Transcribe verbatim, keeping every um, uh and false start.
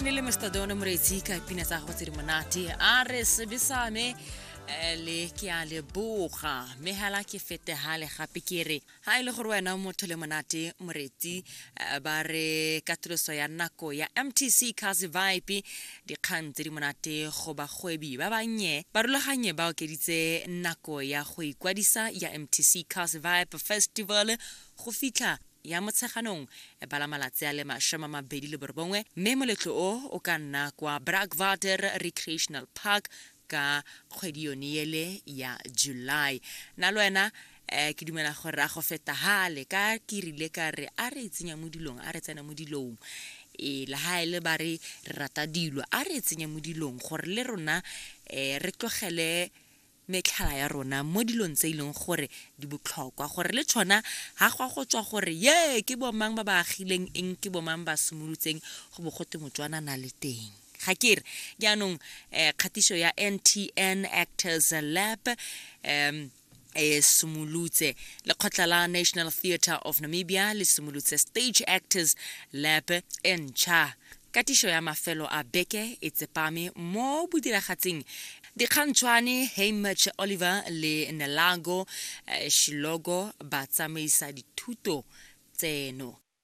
E ne le Mister Don Moretsi ka pina tsa gagwe tse di monate, a re sebe sa me eh, le ke a leboga. Mme hela ke fete hale gape ke re ha e le gore wena motho le monate moretsi, eh, ba re katoloso ya nako ya M T C Kasi Vibe, dikgang tse di monate go bagwebi ba bannye. Barulaganye ba okeditse nako ya go ikwadisa ya M T C Kasi Vibe Festival go fitlha ya Motsheganong e bala malatsi a le mashome a mabedi le borobongwe, mme moletlo o o ka nna kwa Brakwater Recreational Park ka kgwedi yone ele ya July. Na le wena um ke dumela gore a go feta hale ka ke rile ka re a re tsenya mo dilong, a re tsena mo dilong e le ha e le ba re re rata dilo, a re tsenya mo dilong gore le rona um re tlogele metlhala ya rona mo dilong tse e leng gore di botlhokwa, gore le tshona ga gwa go tswa gore ye ke bomang ba ba agileng eng, ke bomang ba simolotseng go bo gote Motswana na le teng. Ga ke re jaanong um kgatiso ya N T N Actors Lab um e simolotse, lekgotla la National Theatre of Namibia le simolotse Stage Actors Lab e ntšha. Katišo ya mafelo a beke e tsepame mo bodiragatsing. Dikgantšhwane Hamish Oliver le Nelago eh, Shilogo ba tsamaisa dithuto tseno.